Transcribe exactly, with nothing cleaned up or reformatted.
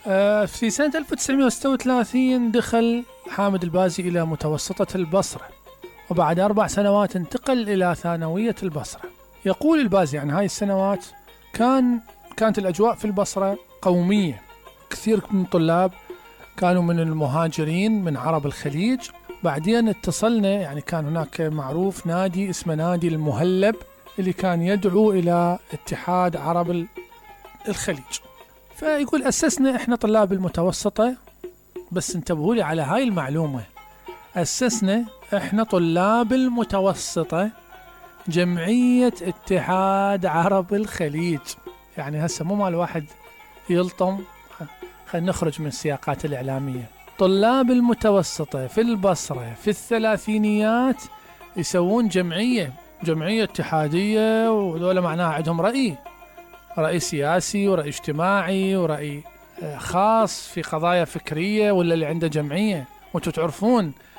آه في سنة ألف وتسعمائة وستة وثلاثين دخل حامد البازي إلى متوسطة البصرة، وبعد أربع سنوات انتقل إلى ثانوية البصرة. يقول البازي عن هاي السنوات: كان كانت الأجواء في البصرة قومية، كثير من الطلاب كانوا من المهاجرين من عرب الخليج. بعدين اتصلنا، يعني كان هناك معروف نادي اسمه نادي المهلب اللي كان يدعو إلى اتحاد عرب الخليج. فيقول أسسنا إحنا طلاب المتوسطة، بس انتبهوا لي على هاي المعلومة، أسسنا إحنا طلاب المتوسطة جمعية اتحاد عرب الخليج. يعني هسه مو مال واحد يلطم، خلينا نخرج من السياقات الإعلامية. طلاب المتوسطة في البصرة في الثلاثينيات يسوون جمعية جمعية اتحادية، وذولا معناها عندهم رأي رأي سياسي ورأي اجتماعي ورأي خاص في قضايا فكرية، ولا اللي عنده جمعية. وانتم تعرفون